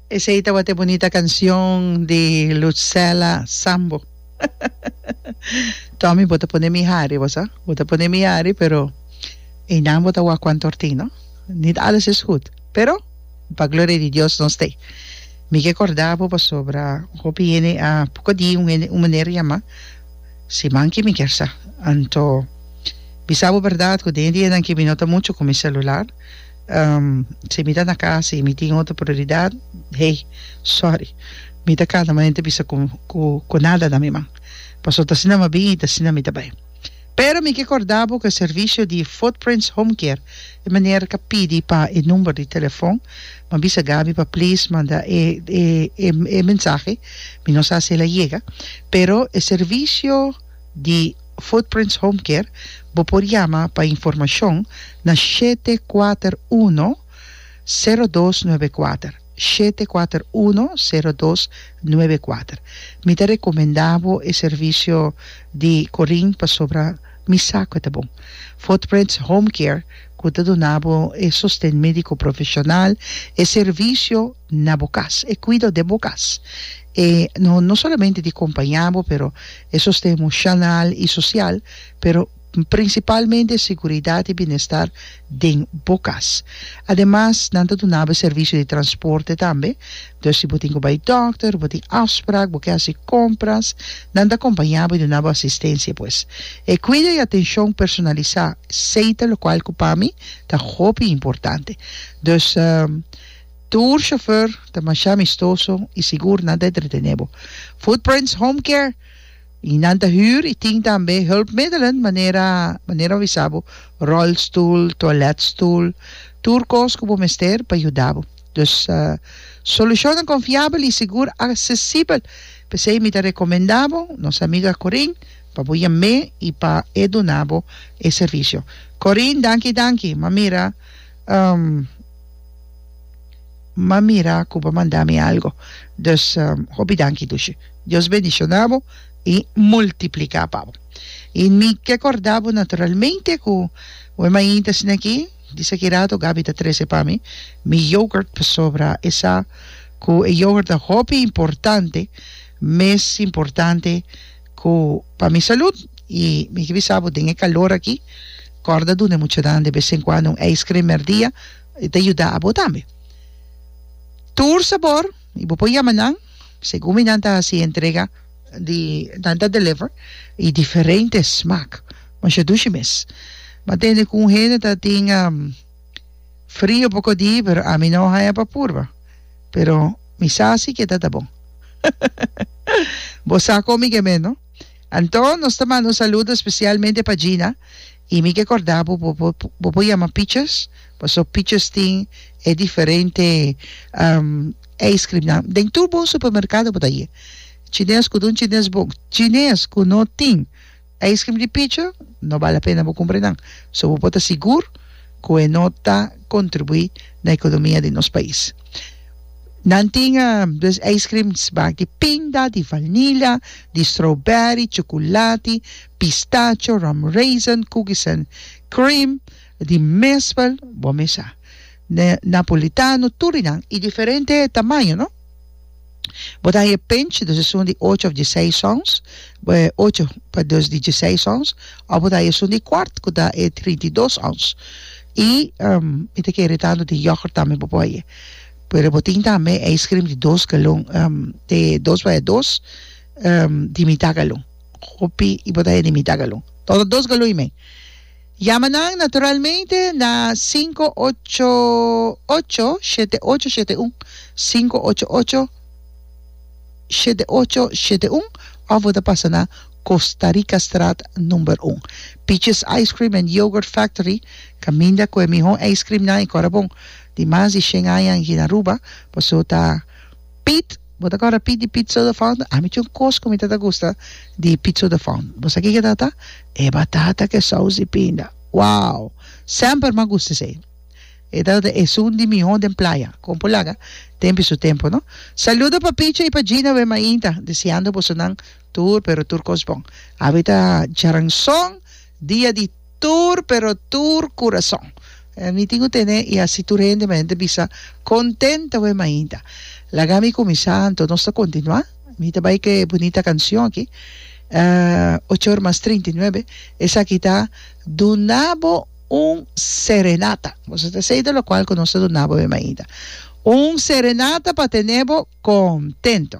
Esey tabata e bunita cancion di Lucella Sambo. Tommy bo ta pone mi hari bo sa, bo ta pone mi hari pero eynan bo ta wak cuanto ortin no. Niet alles is goed pero pa gloria di Dios nos t'ey. Mi ke corda bo pasobra hopi hende a poco di un hende un meneer yama siman ki mi kier sa anto bisa bo berdad cu den e dianan ki mi no ta mucho cu mi celular. Si mi ta na kas i mi tin otro prioridat, hey, sorry, mi ta kada manera ta bisa ku ku nada na mi man. Pasobra ta asina mi a bin i ta asina mi ta bai. Pero mi ke kòrda bo ku e servisio di Footprints Home Care, e meneer ka pidi pa e number di telefòn, mi a bisa Gaby pa please manda e e e mensahe, mi no sa si el a yega, pero e servisio di. Footprints Home Care, bo por yama pa informashon na 741 0294, 741 0294. Mi ta rekomendá bo e servisio di Corinne pasobra mi sa ku e ta bon. Footprints Home Care ku ta duna bo e sosten médiko profeshonal, e servisio na bo kas, e kuido den bo kas. E no no solamente di kompañá bo pero e sosten emoshonal i sosial, pero prinsipalmente e seguridat i bienestar den bo kas. Ademas nan ta duna bo e servisio di transporte tambe, dus si bo tin ku bai dòkter, bo tin afsprak, bo ke hasi kompras, nan ta kompañá bo i duna bo asistensia pues. E kuido i atenshon personalisá, esei ta lokual ku pa mi ta hopi importante. Dus. Tur chauffeur ta masha amistoso y sigur nan ta entretene bo. Footprints Home Care y nan ta huur y tin tambe hulpmiddelen manera manera bo bisa bo rolstoel, toiletstoel, tur cos cu bo mester pa yuda bo. Dus solucionnan confiabel y sigur accesibel. P'esey mi ta recomenda bo nos amiga Corinne pa bo yam'e y pa e duna bo e servicio. Corinne danki danki. M'a mira. M'a mira ku bo a manda mi algo. Dus hopi danki Dushi. Dios bendiciona bo y multiplica pa bo. Y mi ke corda bo naturalmente ku bo mainta asina aki, disa ki rato Gaby ta trece pa mi mi yoghurt pasobra e sa ku e yoghurt ta hopi importante, mes importante ku pa mi salud y mi ke bisa bo den e calor aki corda duna e muchanan de bes en cuando un ijscream merdia e ta yuda abo tambe. Tur sabor y bo por yama nan segun mi nan ta haci entrega di nan ta deliver y diferente smaak masha dushi mes. Mi a tende cu un hende ta tin frio poco di pero ami no haya pa purba pero mi sa si ke ta ta bon. Bo sa kon mi ke men no. Anto nos ta manda un saludo especialmente pa Gina y mi ke corda bo bo bo bo por yama Peaches paso Peaches tin e diferente ice cream nan den tur bon supermercado bo ta haye chines cu ta un chines bon chines cu no tin Ice cream di picho no bal la pena bo cumpra nan, so bo por ta sigur cu e no ta contribui na economia di nos pais. Nan tin dus ice cream smaak di pinda, di vanilla, di strawberry, chocolati, pistacho, rum raisin, cookies and cream, di mespel, bo mes sa, napolitano, tur di nan y diferente tamaño no. Bo ta haña pinch, dus esun di ocho of dieseis ons, ocho pa dus di dieseis ons, of bo ta haña esun di kwart ku ta e 32 ons. I mi ta kere tantu di yoghurt tambe bo por haña. Pero bo tin tambe ijscream di dos galon, di dos vaya dos, di mitá galon. Hopi i bo ta haña di mitá galon. Todo dos galon i mei. Yama nan naturalmente na 588 7871, 588 7871 of bo ta pasa na Costa Rica Straat number un. Peaches Ice Cream and Yogurt Factory kaminda ku e mihó ice cream nan i kòrda bon di mas di shen aña aki na Aruba pasobra ta Pete, bo ta kòrda Pete di Pete Soda Fountain? Ami tin un kos ku mi ta ta gusta di Pete Soda Fountain. Bo sa kiko ta ta? E batata ku e sous di pinda. Wow! Semper mi a gusta esei. E tabata esun di mihó den playa. Kon por laga tempu i su tempu, no? Saludo pa Picho i pa Gina we mainta, deseando bosonan tur pero tur kos bon. Awe ta djaranson, dia di. Tur pero tur kurason. Mi tin ku tene i hasi tur hende manera ta bisa kontento we mainta. Laga mi kuminsá anto nos ta kontinuá. Mi ta bai ku e bunita kanshon aki, ocho or mas trinta i nuebe. Esaki ta Duna bo un serenata. Boso ta esei ta lokual ku nos ta duna bo e mainta. Un serenata pa tene bo kontento.